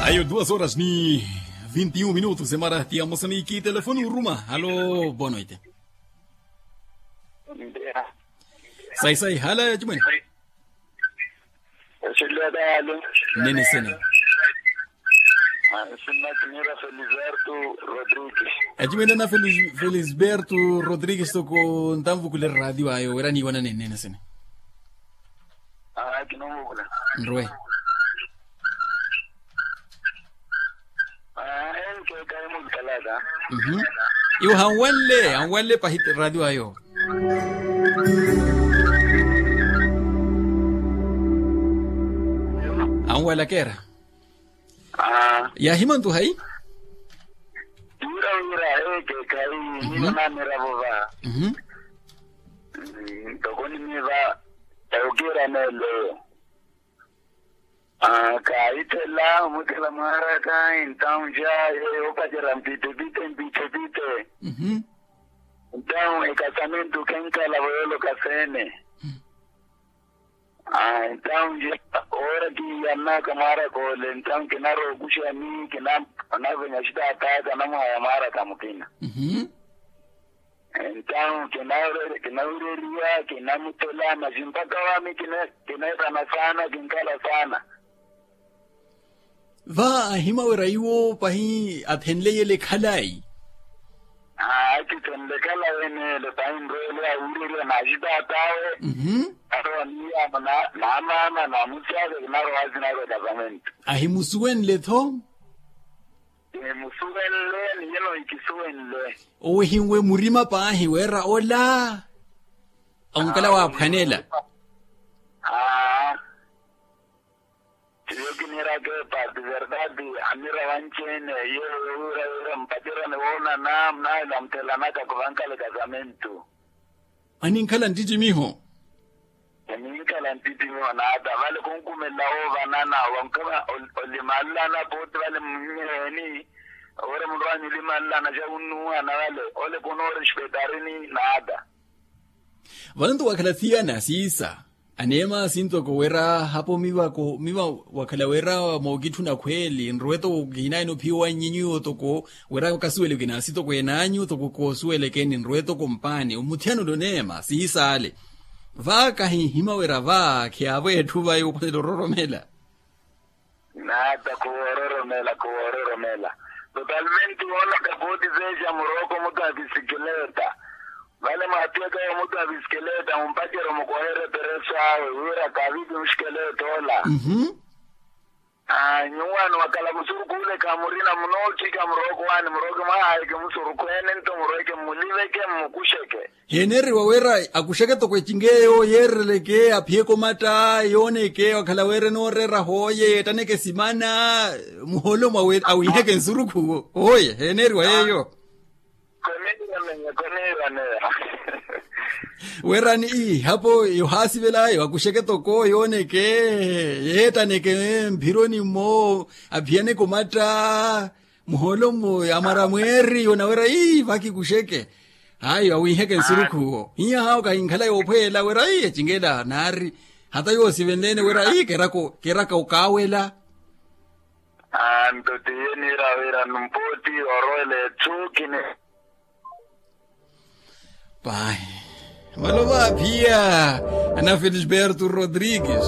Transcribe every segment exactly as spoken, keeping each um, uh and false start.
Ayo duas horas ni vinti un minutos emara ti ya mosamiki telefoni uruma halo bono ite. Sai sai hala ya chimwene. Nene sene. Sina kinira feliberto rodrigues. Achimwene na felisberto rodrigues toko ntamvukule radio ayo wera niiwana nene sene. Nrwe. Iwo hanwanle hanwanle pahi radio ayo. Hanwalakera. Yahimantu hayi. Wira wira eke kayi nina namiravo va. Ntoko nimiva. Okira nelo. Kaahithela omuthela mwaaraka entawu nja yeyo opacerya mpitepite mpitepite. Entawu ekasamentu khenkhala voyoloka seene. Entawu nja oora kiiyannaka mwaaraka ole entawu kinarookuxani kinavenya xitaataka namuhaya mwaaraka mukina. Entawu kinawireriwa kinamuthela masi mpakha wami kineetana saana kinkhala saana. Va ahima wira iwo pahi athenleyele khalayi. Akithenle khalayi enele pahi nrwele awireriwa naxitaatawe. Arowa niyamo na maama na musi ake kinarowa sinaka ekasamentu. Ahimusuwenle-tho. Nimusuwenle ni yeno ikisuwenle. Owehinwe murima paahi wira ola onkala waaphwanela. Aa. Tiyo kiniraka epati verdade. Anira wanci-ene yeyo wira wira mpacerya niwoonana munaahela muthelanaka khuvankala ekasamentu. Aninkhala nttittimiho. Eninkhala nttittimiho naata vale khunkumelela woovanana wankama olimalelana pooti vale mmunyeeni. Owira munrwanyu olimalelana xa wunnuuhana vale ole khunoorespeitarini naata. Vale nto wakhala thiyana siisa aneema sintoko wira hapo miva wakhala wira mookitthuna khweeli nrwe toko kihinayeni ophiya owannyi nyuwo toko wira kasuwele kinaasitokweene anyu toko koosuwelekeni nrwe toko mpaani omuthiyana ole oneema siisaale. Va kahinhima wira va khiyaavo etthu va yoophwanela ororomela. Naata khuwoororomela khuwoororomela. Totalmente woona kapooti zeexa murooko mutu apisikileta. Vale mwaatiyaka omutu apisikileta mumpacerya omukoherya epereso awe wira kaavipi musikileta ola. Nyuwaani wakhala musurukhu ole khamurina munootthika murooko waani murooke mwaahayeke musurukhu ene nto murweeke mmuliveke mmukuxeke. Heeneriwa wira akuxeke toko ecinga eyo yeereleke aphiyeke omatta yooneke wakhala wira enooreera hooye yeettaneke esimana muholo mwa awiheke nsurukhu oye heeneriwa yeeyo. Wira ni ihapo yohaasivelayo akuxeke toko yooneke yeettaneke mphironi mmo aphiyaneke omatta muholo mmo amwara mweeri yonawera ii vakikuxeke. Hayi awiiheke nsurukhu owo hiya hawo kahinkhala yoophweela wira ii ecinga ela naari hata yoosivenleene wira ii keraka okaawela. Anto tiye niira wira numpooti orowela etthu kini. Pahi. Malova aphiya ana felisberto rodrigues.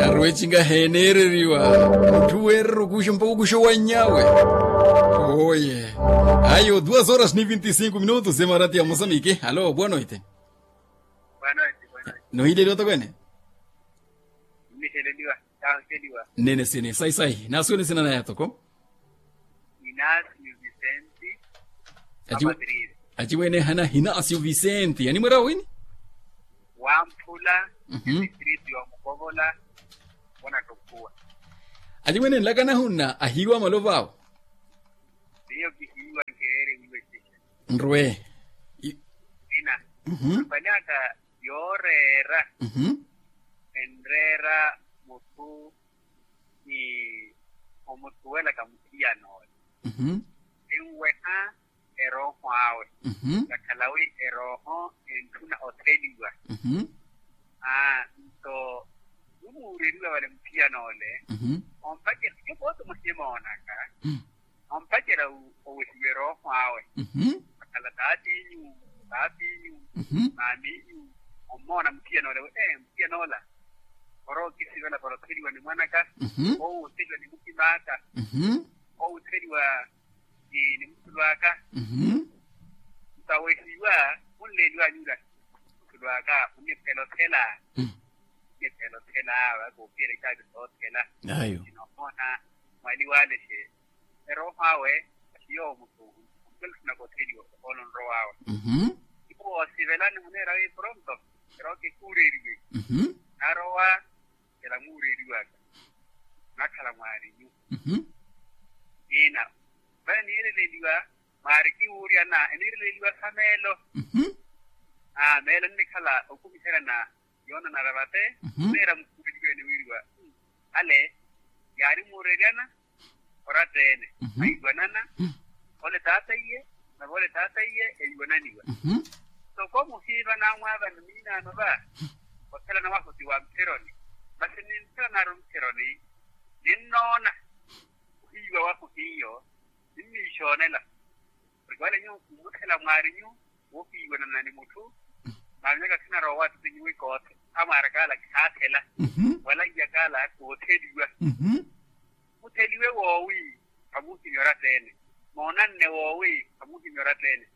Aruwecinga heeneereriwa mutthu weerera okuxa mpaka okuxa owannyawe. Oye. Ayo duas horas ni vinti cinco minutos emarati ya mosamiki halo boa noite. Nohiileliwa tokwene. Nene sene sai sai naasuwene sina naya toko. Inacio vicente. Aciwene ehana hinacio vicente animwera wini. Wamphula. Distrito ya mukovola. Wona tokhuwa. Aciwene nlakana hunna ahiiwa malova awo. Niyo kihiiwa nkeere wiwe cixa. Nrwe. Ina. Apanaka yooreera. Enreera mutthu ni omusuwelaka muthiyana ole. Enweha erooho awe. Kakhala wi erooho entthuna otheliwa. Aa nto nimuureriwa. Muthiyan'ole ompacerya yo pooti muhimoonaka. Ompacerya owehiwe erooho awe. Akhala taatiinyu, taatiinyu, maamiinyu. Ommoona muthiyan'ole wi ee muthiyan'ola orowa okisivela para otheliwa ni mwanaka, owo otheliwa ni muhim'aka, owo otheliwa ni muthulu aka. Nto awehiwa munleeliwanyula muthulu aka muniphela othela. Muniphela othela vakoopiyela icaapi soothela. Ayo. Sinohoona mwaliwale xe erooho awe. Siyo mutthu ompela otthu nakotheliwa ohoolo nrowawe. Iwo oosivelani muneera wi pronto erooke kuureeriwe. Narowa ela muureeriwaka nakhala mwaarinyu. Ina vale niireleliwa mwaari kiwuuryana eniireleliwa sa meelo. Meelo nnikhala okumiherya na yoonanara vate. Neera mukhuleliwe eniwiriwa ale yaari muureeryana oratta-ene. Aiwanana ole taata iye nave ole taata iye eiwananiwa. Soko muhiiva naamwaavani miinaano va othelana wahu ti wa mutheroni. Masi ninthelanaru mutheroni ninnoona ohiiwa wahu hiyo ninniixoonela. Oriki wale nyuwo kumuthela mwaarinyu woohiiwanana ni mutthu. Maaminyaka khinaroowa attinyuwi koothe amwaarakaala khaathela wala iyakaala kootheliwa. Mutheliwe woowi khamuuhimya oratta-ene. Moonanne woowi khamuuhimya oratta-ene.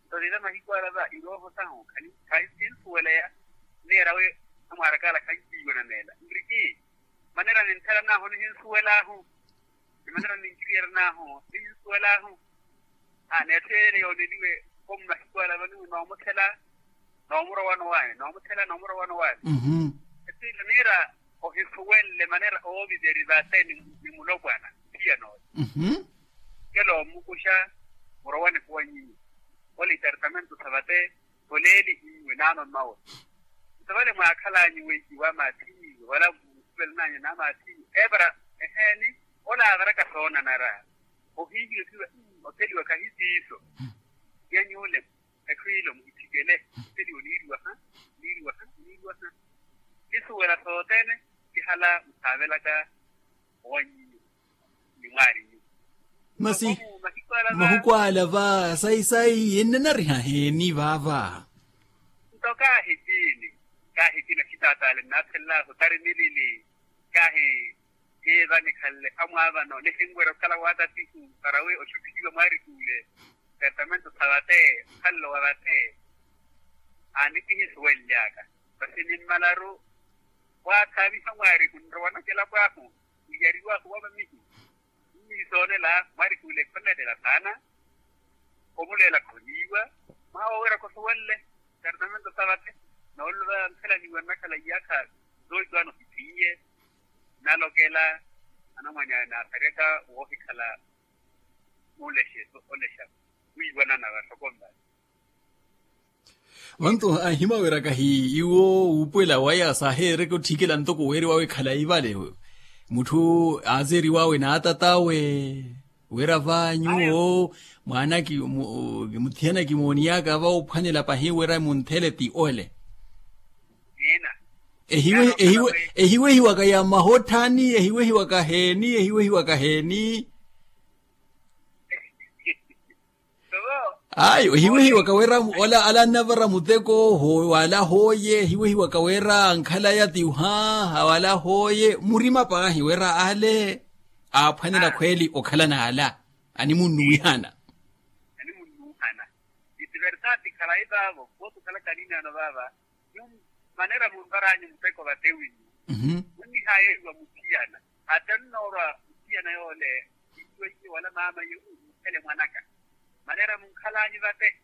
Nto tita mahiku ala va irooho sahu khasinsuweleya. Nneera wi amwaarakaala khankiiwananela nriki. Manera ninthelanahu nihinsuwelaahu ni manera ninkiriyeryanaahu nihinsuwelaahu. N'etthu yeene yooneliwe koomu mahiku ala vaniwe noomuthela noomurowano waani noomuthela noomurowano waani. Etthu ila niira ohisuwenle manera ooviteri vate ni mulopwana. Phiya nooyo kela omukuxa murowane khuwanyinyu. Ole itartamento sa vate soleeli iwe naano mmawe. Nto vale mwaakhalanyu weikiwa maathinyu wala musuvelananyu na maathinyu eevara eheeni. Ole aavaraka soonanara ohiihiwe kiwe otheliwa khahi siiso. Nyanyuule ekhwiilo muhithikele. Otheliwa oniiriwaha oniiriwaha oniiriwaha. Nisuwela sothene kihala musaavelaka owanyinyu. Ni mwaarinyu masi mahiku ala va sayi sayi ennanariha heeni vaava. Nto kaahi tiini kaahi tiini axitaataale nnaathelelaahu tari milili. Kaahi tiiva nikhanle amwaavano nihinwerya okhala waatatihu para wi oxutthihiwa mwaarikuule. Tartamento sa vate okhanle wa vate. Aani kihisuwenly'aka masi nimmalaru waathaaviha mwaarihu nrowanaka elapo ahu. Niyariw'ahu wa mamihi nniisoonela mwaarikuule khonneettela saana. Omuleela khoniiwa mwaha woowerya khosuwenle. Tartamento sa vate nooluva nthelaniwa nnakhala iyaakha zoohiwaano ohithiiye. Nnalokela anamwany'aya naasaryaka woohikhala mulexe olexa wiiwanana vasokonva. Vantu ahimaweraka hi iwo wuupuwela waya saaheerereke otthikela ntoko weeriwawe khalayi vale. Mutthu aazeeriwawe n'atatawe wira va nyuwo mwaana muthiyana kimooniyaka va ophwanela pahi wira munthele ti ole. Ehiwehiwaka ya mahotthani ehiwehiwaka heeni ehiwehiwaka heeni. Ayi ohiwehiwaka wira ola ala annavara muteko wala hooye ohiwehiwaka wira ankhalaya ti oha wala hooye murima paahi wira ale aaphwanela khweli okhalana ala animunnuwihana. Animunnuwihana itiversati khalayi vaavo kootukhala khalinaano vaava. Nyuwo manera munvar'anyu muteko vate winyu munnihayeeriwa muthiyana. Ata nnoorwa muthiyana yoole iiweiye wala maamaiye muthele mwanaka. Manera munkhal'anyu vate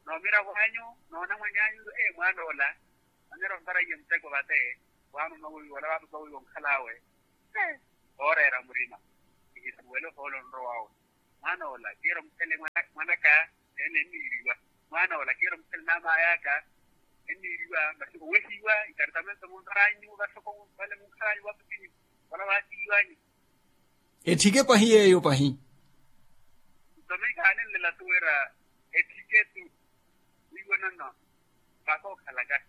noomiravo anyu noonamwany'anyu ee mwaan'ola. Manera onvaraiye muteko vate waamama weiwo wala waapapa weiwo onkhal'awe. Ooreera murima kihisuwele ohoolo onrow'awe. Mwaan'ola kiira omuthele mwanaka ene enniiriwa. Mwaan'ola kiira omuthele n'amay'aka enniiriwa masi owehiwa itartamento munvar'anyu vasoko vale munkhal'anyu waapapinyu wala waatiiw'anyu. Etthike pahi yeeyo pahi. Nto miika aanenlela tu wira etthike tu. Wiiwanano vakookhalaka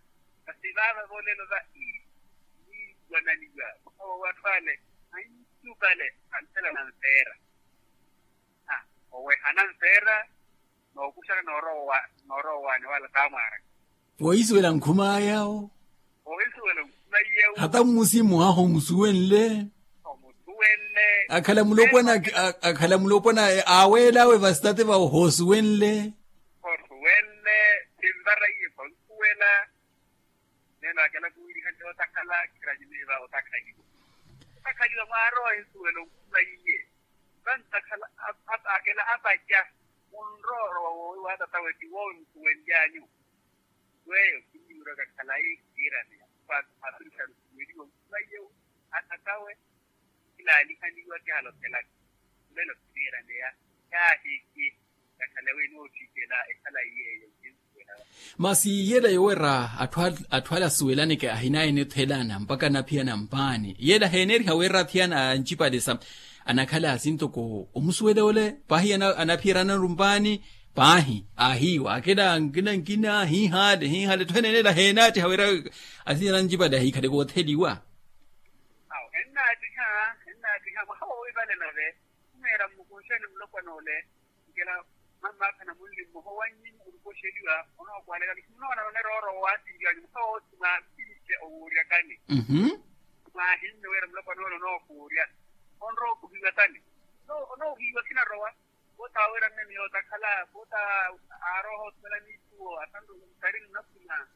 masi vaava voolelo va ii. wananiwa. Owo atthu ale anitupale anthela nanfeera. Owehana nfeera nookuxana noorowaani wala taamwaaraka. Wohisuwela nkhum'aya wo. Wohisuwela nkhum'aya wo. Hata mmusi mwaha omusuwenle. Omusuwenle. Akhala mulopwana akhala mulopwana aweel'awe vastate vawo hoosuwenle. Hoosuwenle. Sinvara iye khonsuwela. Neno akela kuwiliha nti otakhala khiranyimeva otakhaliwa. Otakhaliwa mwarowa ensuwela onkhuma iye. Vantakhala akela apaca munroorowa woowi wa tatawe ti woowi musuwenlyanyu. Weyo kinniwiraka khalayi kiiraneya. Apirisha rusuweliwa onkhuma iye. Atatawe kilaanihaniwa kihalothelaka. Mulelo kiniiraneya. Kaahiki. Kakhale wi nootthikela ekhala iyeeyo. Masi yeela yoweera atthu ale asuwelaneke ahinaye nithelana mpakha anaphiyana mpaani yeela heeneriha weera athiyana ancipalisa. Anakhala asi ntoko omusuwela ole paahi anaphiyerana rumpaani. Paahi ahiiwa akela ankina nkina hiihale hiihale etthu eneneela heenaattiha weera. Athiyana ancipale ahiikhaleke otheliwa. Awo ennaattiha. Ennaattiha mwaha woowi vale nave khumeera mmukunxeni mulopwana ole. Nkela mammaakha na munli mmoha owannyi orukoxeliwa. Onookwalekani khunoona vanerooro waatinliwanyu mukha woothi mwaasince owuuryakani. Mwaahinne wira mulopwana ole onookuurya onrowa okuhiwa tani. Onoohiwa khinarowa. Voota aweera mme miyo otakhala voota. Aaroha othumela niithuwo asanru ntari nnakhuma.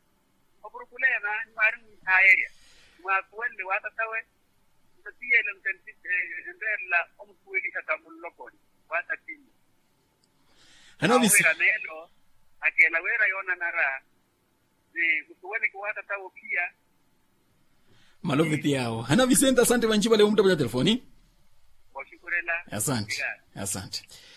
Opurukuleya maani mwaari mwiihaayerya. Mwaakuwenle waatatawe. Ntiyele nte enreerela omusuweliha ta muloponi. Waatatinyu. Hano visi awira meelo. Akela wira yoonanara ni musuweleke waatata wophiya. Malo viti yawo hano visente asante vanci vale omutapanya telefoni. Oxukurela. Asante. Asante.